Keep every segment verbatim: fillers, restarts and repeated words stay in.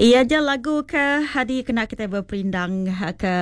Iya aja lagu ke hadi kena kita berperindang ke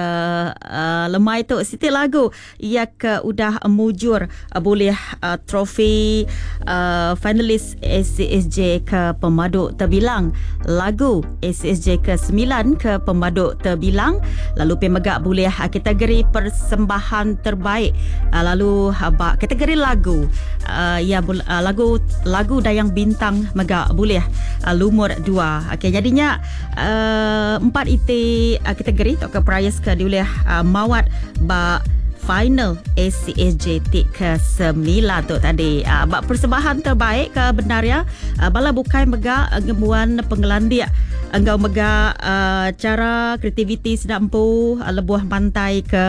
uh, lemai tu. Siti lagu ia ke udah mujur uh, boleh uh, trofi uh, finalis A C S J ke pemadu terbilang. Lagu A C S J ke sembilan ke pemadu terbilang. Lalu pemegak boleh uh, kategori persembahan terbaik. Uh, lalu uh, kategori lagu uh, ya uh, lagu lagu Dayang Bintang megak boleh uh, lumur dua. Okey, jadinya Uh, empat iti uh, kategori atau ke prize ke diulih uh, mawat ba final A C S J T ke sembilan tu tadi. Uh, bak persembahan terbaik ke benar ya. Uh, bala bukai mega uh, ngemuan pengelandik enggau mega uh, cara kreativiti sedampu uh, lebuh pantai ke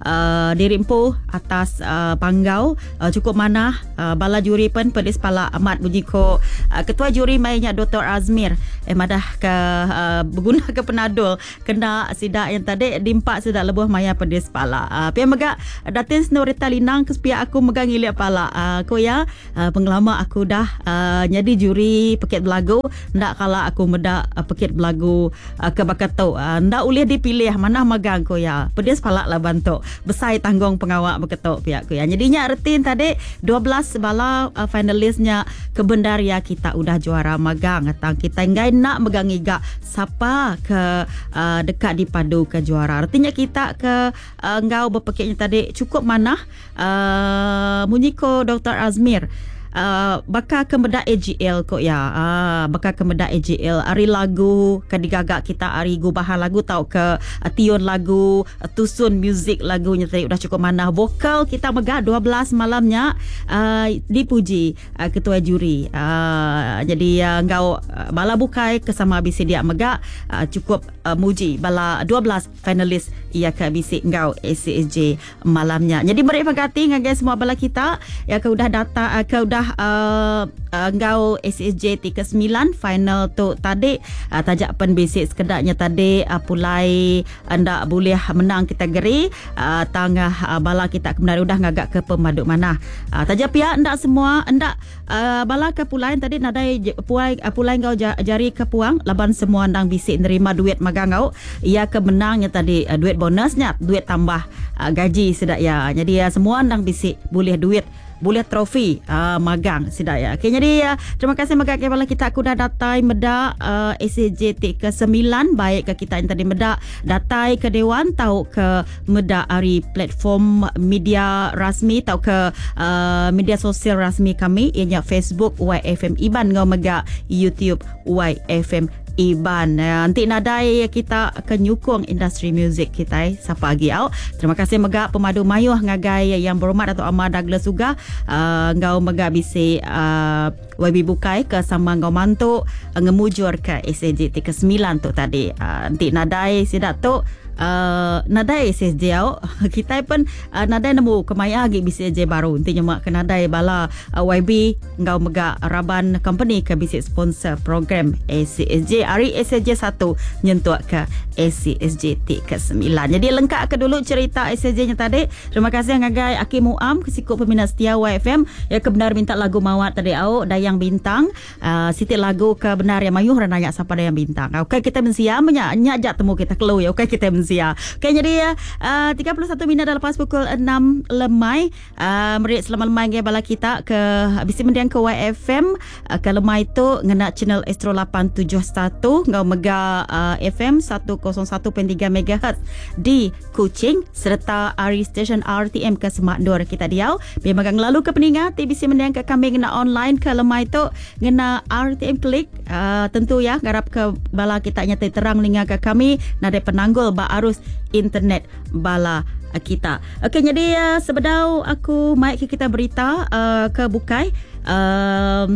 uh, diri empu atas uh, panggau uh, cukup manah. Uh, bala juri pen pedis pala amat bunyi ko uh, ketua juri mainnya Doktor Azmir eh madah ke uh, berguna ke penadul kena sidak yang tadi dimpak sidak lebuh maya pedis pala. Uh, pia mega Datin Snorita Linang ke pihak aku megang ngilik pala. Uh, aku ya uh, pengelama aku dah uh, jadi juri pekit belagu ndak kala aku medak uh, pekit belagu uh, ke bakat tu uh, ndak boleh dipilih mana magang ko ya pedis palak lah bantu besai tanggung pengawak beketok pihak ko ya. Jadinya retin tadi dua belas bala uh, finalisnya kebendar ya kita udah juara magang atang kita enggai nak megang iga siapa ke uh, dekat dipadu ke juara. Artinya kita ke uh, ngau berpekitnya tadi cukup manah uh, munyi ko Doktor Azmir. Uh, bakal ke medak A G L kok ya. Uh, bakal ke medak A G L ari lagu ke digagak kita ari gubahan lagu tau ke uh, tiun lagu uh, tusun muzik lagunya tadi udah cukup manah. Vokal kita megah dua belas malamnya uh, dipuji uh, ketua juri. Uh, jadi uh, ngau uh, bala bukai kesama bisi dia megah uh, cukup uh, muji bala dua belas finalis ia ke bisi ngau A C S J malamnya. Jadi beri pengganti ngagai semua bala kita ya ke udah data uh, ke udah Uh, uh, ngau A C S J T ke sembilan final tu tadi uh, tajak pen bisik sekedaknya tadi uh, pulai ndak boleh menang kategori uh, tangah uh, bala kita kebenar udah ngagak ke pemaduk mana. Uh, tajak pihak ndak semua ndak uh, bala ke pulai tadi nadai puai uh, pulai ngau jari ke puang laban semua ndang bisik nerima duit magang ngau ia ke menangnya tadi uh, duit bonusnya duit tambah uh, gaji sedak ya. Jadi uh, semua ndang bisik boleh duit boleh trofi uh, magang sidak ya. Okey, jadi uh, terima kasih magang kepada kita aku dah datai medak uh, A C J T ke sembilan baik ke kita yang tadi medak datai ke dewan tau ke medak ari platform media rasmi tau ke uh, media sosial rasmi kami ianya Facebook Y F M Iban ngau megak YouTube Y F M Iban. Nanti nadai kita akan nyukung industri muzik kita eh. Siapa lagi au. Terima kasih megak pemadu mayuh ngagai yang berhormat Dato' Amar Douglas Uggah uh, ngau megak bisi uh, Y B Bukai ke sama ngau mantu uh, ngemujur ke A C J T ke sembilan tu tadi. Uh, nanti nadai sidak tu Uh, nadai S S J au. Kita pun uh, nadai nemu kemaya lagi B C J baru. Nanti nyemak ke nadai bala uh, Y B ngau megak raban company ke bisik sponsor program A C S J hari A C S J satu nyentuk ke A C S J T ke sembilan. Jadi lengkap ke dulu cerita A C S J nya tadi. Terima kasih ngagai Aki Muam kesikut peminat setia Y F M ya kebenar minta lagu mawat tadi au Dayang Bintang. Uh, siti lagu ke benar yang mayuh orang nanya siapa Dayang Bintang. Okey kita mensia menyak nyak jak temu kita kelu ya. Okey kita mensia. Ya. Okey, jadi uh, tiga puluh satu minit dah lepas pukul enam lemai. Uh, merik selamat lemai ngai bala kita ke bisi mendiang ke Y F M uh, ke lemai tu ngena channel Astro lapan tujuh satu ngau mega uh, F M seratus satu perpuluhan tiga megahertz di Kuching serta ari stesen R T M ke Semak Nur kita diau. Memang lalu ke peningat T B C mendiang ke kami ngena online ke lemai tu ngena R T M klik uh, tentu ya garap ke bala kita nyata terang ninga ke kami nadai penanggul ba arus internet bala kita. Okey, jadi uh, sebedau aku mic ke kita berita uh, ke bukai um,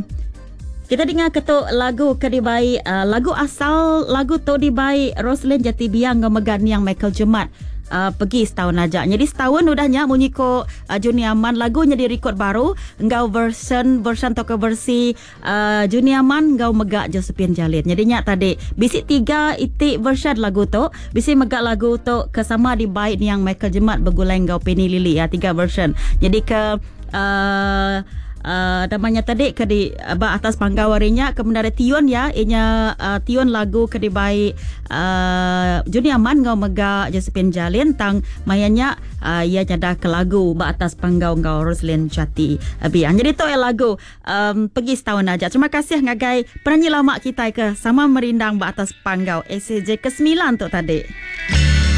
kita dengar ketuk lagu ke dibai uh, lagu asal lagu tu dibai Roslyn Jati Biang ngau megan yang Michael Jemat. Uh, pergi setahun aja. Jadi setahun udahnya munyi ko uh, Juni Aman lagunya di record baru ngau version version atau ke versi uh, Juni Aman ngau megak Josephine Jalin. Jadi nyak tadi bisi tiga itik version lagu tu, bisi megak lagu tu kesama di baik yang Michael Jemat bergulai ngau Penny Lily ya tiga version. Jadi ke uh, uh, namanya tadi ke di ba atas panggau harinya ke menara tiun ya inya uh, tiun lagu ke dibai uh, Juni Aman ngau mega Josephine Jalin tang mayanya uh, ia nyada ke lagu ba atas panggau ngau Roslyn Jati uh, Biang. Jadi tu ya lagu um, pergi setahun aja. Terima kasih ngagai penyanyi lama kita ke sama merindang ba atas panggau S J ke sembilan tu tadi.